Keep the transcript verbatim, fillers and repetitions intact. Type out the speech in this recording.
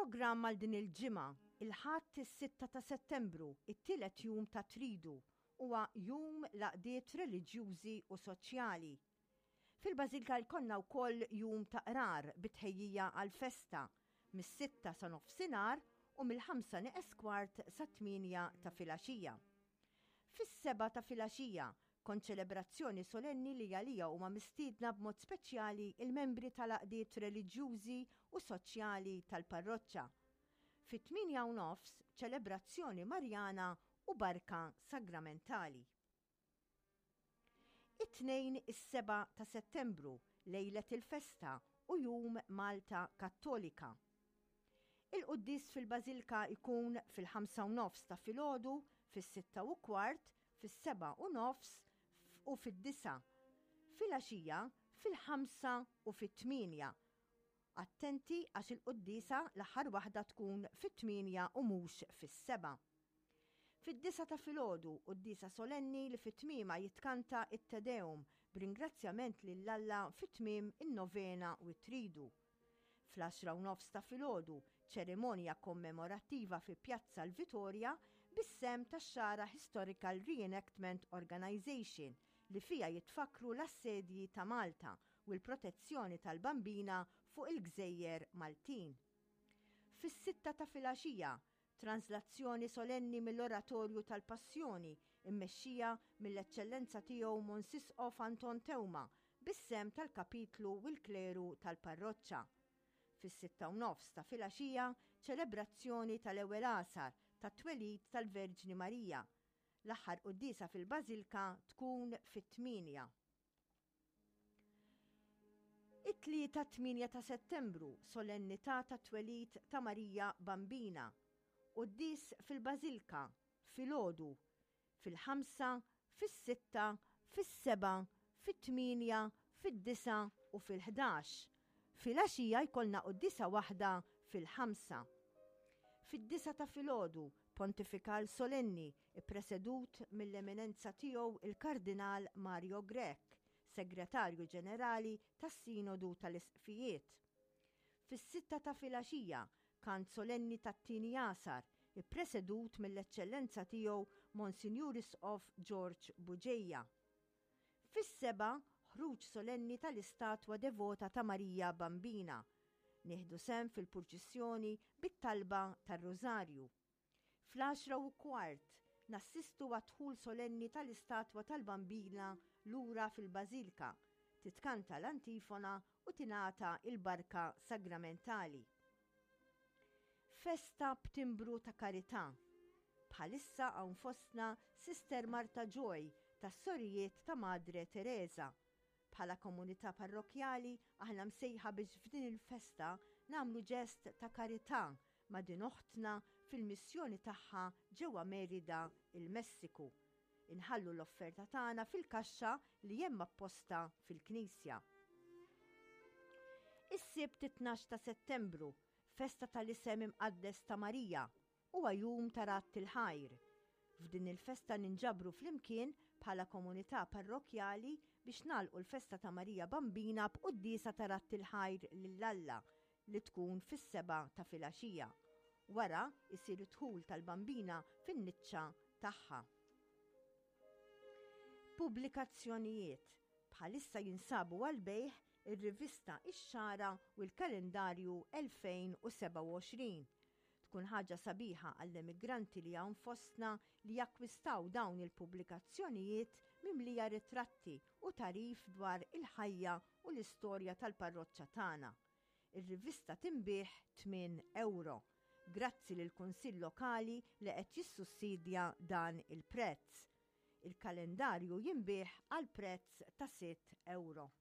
Il-programm għal din il-ġimgħa, il-Ħadd is-sitta ta' Settembru, it-tielet jum ta' Tridu, huwa jum l-għaqdiet reliġjużi u soċjali. Fil-Bażilka jkollna wkoll jum ta' qrar bi tħejjija għal-festa mis-sitta sa nofsinhar u mill-ħamsa neqes kwart sa tmienja ta' filgħaxija. Fis-sebgħa ta' filgħaxija, konċelebrazzjoni solenni li għalija huma mistiedna b'mod speċjali il-membri tal-għaqdiet reliġjużi u soċjali tal-parroċċa. Fit-tmienja u nofs, ċelebrazzjoni Marjana u barka sagramentali. It-Tnejn is-sebgħa ta' Settembru, lejlet il-festa u jum Malta Kattolika. Il-quddies fil-Bażilka jkun fil-ħamsa u nofs ta' filgħodu, fis-sitta u kwart, fis-sebgħa u nofs u fid-disgħa. Filgħaxija fil-ħamsa u fit-tmienja. Attenti għax il-quddiesa l-aħħar waħda tkun fit-tmienja u mhux fis-sebgħa. Fid-disgħa ta' filgħodu, quddiesa solenni li fit-tmiema jitkanta it-Te Deum b'ringrazzjament lil Alla fit-tmiem in-novena u t-tridu. Fl-għaxra u nofs ta' filgħodu, ċerimonja kommemorattiva fi Pjazza l-Vitorja bis-sehem tax-Xagħra Historical Reenactment Organization li fija jitfakru l-assedji ta' Malta u l-protezzjoni tal-Bambina fuq il-Gżejjer Maltin. Fis-sitta ta' filgħaxija, translazzjoni solenni mill-Oratorju tal-Passjoni immexxija mill-Eċċellenza tiegħu Mons Isqof Anton Teuma bis-sehem tal-kapitlu u l-kleru tal-parroċċa. Fis-sitta u nofs ta' filgħaxija, ċelebrazzjoni tal-ewwel għasar tat-twelid tal-Verġni Marija. L-aħħar quddiesa fil-Bażilka tkun fit-tmienja. It-Tlieta tmienja ta' Settembru, solennità tat-twelid ta' Marija Bambina. Quddies fil-Bażilka, filgħodu, fil-ħamsa, fis-sitta, fis-sebgħa, fit-tmienja, fid-disgħa u fil-ħdax. Filgħaxija jkollna quddiesa waħda fil-ħamsa. Fid-disgħa ta' filgħodu, pontifikal solenni ippresedut mill-eminenza tiegħu il-Kardinal Mario Grech, Segretarju Ġenerali tas-Sinodu tal-Isqfijiet. Fis-sitta ta' filgħaxija, kant solenni tat-tieni għasar, ippresedut mill-Eċċellenza tiegħu Monsinjur Isqof George Bugeja. Fis-sebgħa, ħruġ solenni tal-istatwa devota ta' Marija Bambina. Nieħdu sehem fil-purċissjoni bit-talba tar-Rużarju. Fl-għaxra u kwart, nassistu għad-dħul solenni tal-istatwa tal-Bambina lura fil-Bażilka, titkanta l-antifona u tingħata il-barka sagramentali. Festa b'timbru ta' karità. Bħalissa hawn fostna Sister Marta Joy tas-Sorijiet ta' Madre Teresa. Bħala komunità parrokjali aħna msejħa biex f'din il-festa nagħmlu ġest ta' karità ma' din oħtna fil-missjoni tagħha ġewwa Merida, il-Messiku. Inħallu l-offerta tagħna fil-kaxxa li hemm apposta fil-Knisja. Is-Sibt tnax ta' Settembru, festa tal-isem imqaddes ta' Marija, huwa jum ta' Radd il-Ħajr. F'din il-festa ninġabru flimkien bħala komunità parrokjali biex nagħlqu l-festa ta' Marija Bambina b'quddiesa ta' Radd il-Ħajr lil Alla li tkun fis-sebgħa ta' filgħaxija. Wara isir id-dħul tal-Bambina fin-niċċa tagħha. Pubblikazzjonijiet bħalissa jinsabu għal-bejħ ir-rivista Ix-Xagħra u l-kalendarju elfejn u sebgħa u għoxrin. Tkun ħaġa sabiħa għall-emigranti li hawn fostna li jakkwistaw dawn il-pubblikazzjonijiet mimlija ritratti u tarif dwar il-ħajja u l-istorja tal-parroċċa tagħna. Ir-rivista tinbiegħ tmien euro. Grazzi lill Kunsill Lokali li qed jissussidja dan il-prezz. Il-kalendarju jinbiegħ għal prezz ta' sitt euro.